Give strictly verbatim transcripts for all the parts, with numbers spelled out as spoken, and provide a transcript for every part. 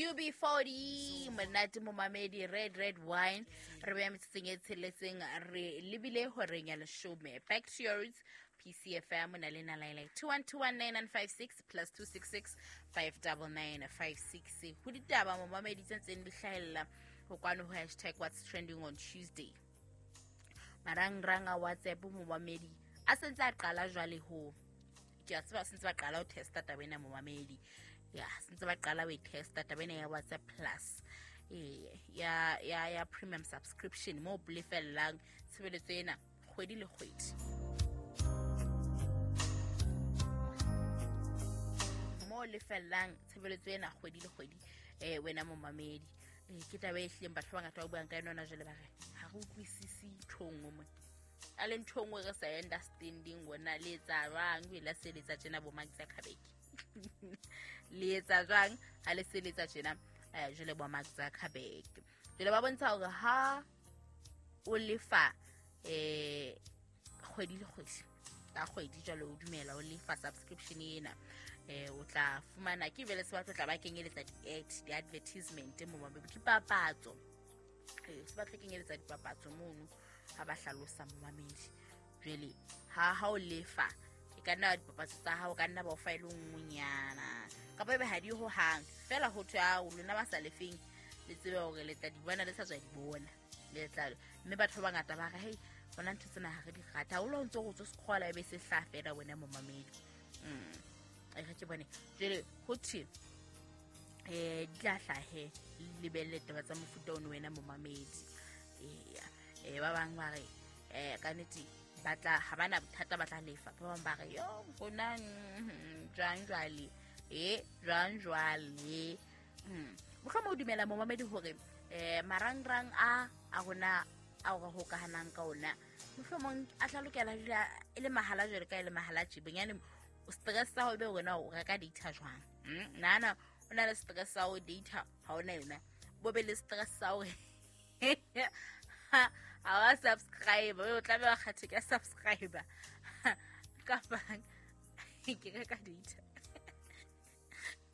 U B forty monate momamedi red red wine re beya metsotsong e tsheletseng re lebile horeng ya leshome. Back to your roots P C F M na le na line two one two one nine nine five six plus two six six five nine nine five six. Ho ditaba momamedi tse ntseng di hlahella ho kwano ho hashtag what's trending on Tuesday. Marangrang a WhatsApp momamedi a sentse a qala jwale ho ke a tseba sentse ba qala ho testa taba ena momamedi. Ya sentse ba qala ho testa taba ena ya WhatsApp Plus eh ya ya ya premium subscription mo lefellang tshebeletso ena kgwedi le kgwedi. Mo lefellang tshebeletso ena kgwedi le kgwedi eh wena momamedi. Eh ke taba e hleng batho ba bangata ba buang ka yona jwale ba re ha re utlwisisi nthong mo. A le ntho nngwe re sa understanding wona le etsa jwang o ile seletsa tjena bo Mark Zuckerberg. Le etsa jwang ha le seletsa tjena jwale bo Mark Zuckerberg. Jwale ba bontsha hore ha o lefa eh kgwedi le kgwedi ka kgwedi jwale o dumela o lefa subscription ena eh o tla fumana ke vele se batlo tla ba kenyeletsa di-ad di-advertisement mo mabedi dipapatso eh se batlo kenyeletsa dipapatso mono ha ba hlalosa momamedi. Jwale ha ha o lefa e ka nna dipapatso tsa hao ka nna ba o fa ile nngwenyana kapa ebe ha di ho hang fela ho thwe a o lona ba sa lefeng le tsebe hore le tla di bona le sa tswa di bona le tla mme batho ba bangata ba re hey bona ntho tsena ha re di rata o lo ntse go tswa sekgola ebe se hla fela wena momamedi. Mm e re ke bone jwale ho thwe eh di tla hlahe lebelle taba tsa mofuta ono wena momamedi. Eh eh ba bang ba re eh ka nnete ba tla ha bana bothata ba tla lefa ba bang ba re yo rona jwang jwale eh jwang jwale. Mm mohlomong o dumela momamedi hore eh marangrang a a rona a re hokahanang ka ona mohlomong a tla lokela dula e le mahala jwale ka e le mahala tje bonyane o stress sa ho be wena o reka data jwang. Mm nana o na le stress sa ho data ha ona yona bo be le stress sa hore ha wa subscribe o tla be wa kgathe ka subscriber ka bang ke reka data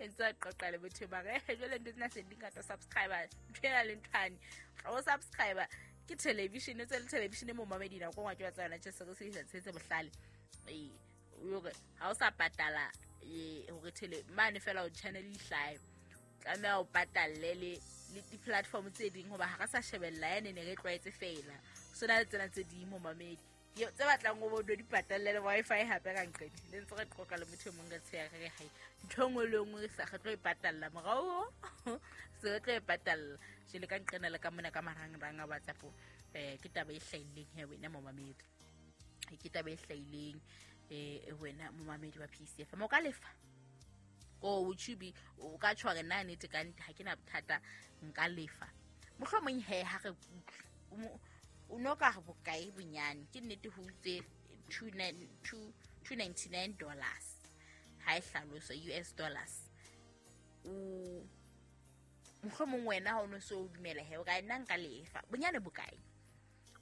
entsa qoqa le botho ba re jwale ntho tsena se di ngata subscriber ntho ena le nthwane o subscriber ke television tse le television mo mamedi na go ngwa ke ba tsana tse se se se tse bohlale eh hore ha o sa patala eh hore tele mane fela o channel e hlae tlameha o patalle le le di-platform tse ding hoba ha re sa shebella yane ne re tlwaetse fela so na le tsena tse ding mo mamedi tse batlang o bo di patalle le Wi-Fi hape ka nqedi le ntse re qoqa le motho e mong re tsheya re re hai ntho nngwe le nngwe sa re tlo e patalla morao se re tlo e patalla jele ka nqena le ka mona ka marangrang a WhatsApp eh ke taba e hlahileng he wena momamedi ke taba e hlahileng eh wena momamedi wa P C F mo ka lefa ko o chubi o ka tshware nna nnete ka nnete ha ke na bothata nka lefa mohlomong he ha re o no ka re bokae bonyane ke nnete ho tse two ninety-nine dollars ha e hlaloso U S dollars o mohlomong wena ha o no so o dumela he o ka nna nka lefa bonyane bokae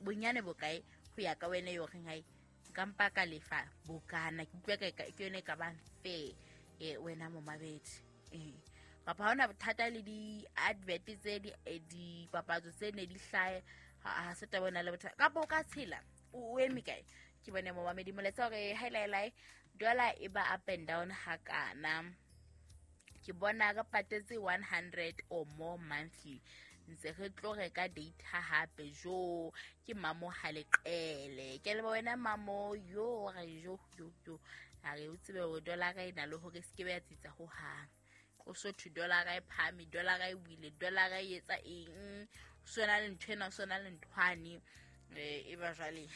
bonyane bokae ho ya ka wena yo reng hai nka mpa ka lefa bokana ke utlwa ka ke yone ka bang fair eh wena momabedi eh kapa ha ona bothata le di advert tse di dipapatso tse ne di hlae ha se taba ona le bothata kapa o ka tshela o eme kae ke bone momamedi moletsa hore highlight dollar e ba up and down hakana ke bona ka patetse one hundred or more monthly ntse re tlo reka data hape jo ke mamo ha leqele ke le wena mamo yo re jo jo jo a re o tsebe hore dollar e na le hore se ke be ya tsitsa ho hang o so two dollar e phahame dollar e wile dollar e etsa eng so na le ntho ena so na le nthwane eh e ba jwale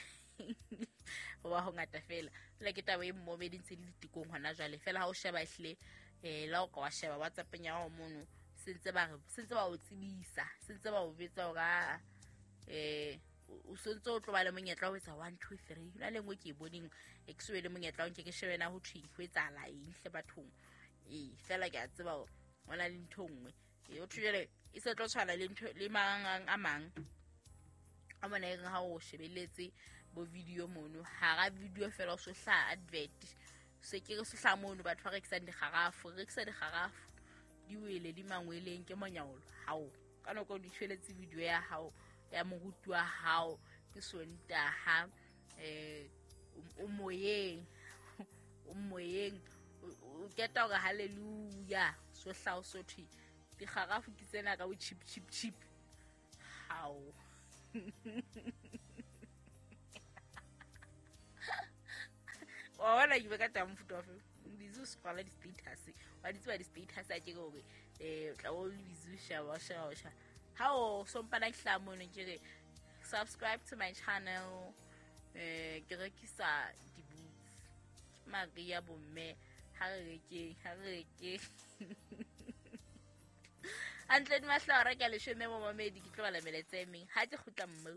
ho ba ho ngata fela le ke taba e mmomedi ntse di ditikong hona jwale fela ha o sheba ehle eh la o ka wa sheba WhatsApp ya hao mono sentse ba re sentse ba o tsebisa sentse ba o betsa hore eh o sentse o tlo ba le monyetla o etsa one two three la lengwe ke e boneng e ke le monyetla o nke ke shebe na ho thweng ho etsahala eng hle bathong eh fela ke a tseba ona le ntho nngwe e o thujele e se tlo tshwana le ntho le mang a mang a mona e ha o shebeletse bo video mono hara video fela o so hla advert se ke re se hla mono batho ba rekisang dikgarafo rekisa dikgarafo Di wele di mangweleng ke monyaolo. Hao ka nako di tshweletse video ya hao ya moruti wa hao ke Sontaha eh o moyeng o moyeng o keta hore hallelujah so hlao so thwi dikgarafu ke tsena ka bo chip chip chip. Hao wa bona ke be ka taba mofuta wa fe busy o scrolla di-status wa di tseba di-status a ke hore eh tla o le busy o sheba o sheba o sheba ha o sompana ke hlaha mono ke re subscribe to my channel eh ke rekisa di-boots ke Maria bomme ha re rekeng ha re rekeng hantle di mahlora ke a leshome mo mamedi ke tlo bala melaetsa e meng ha ke kgutla mo.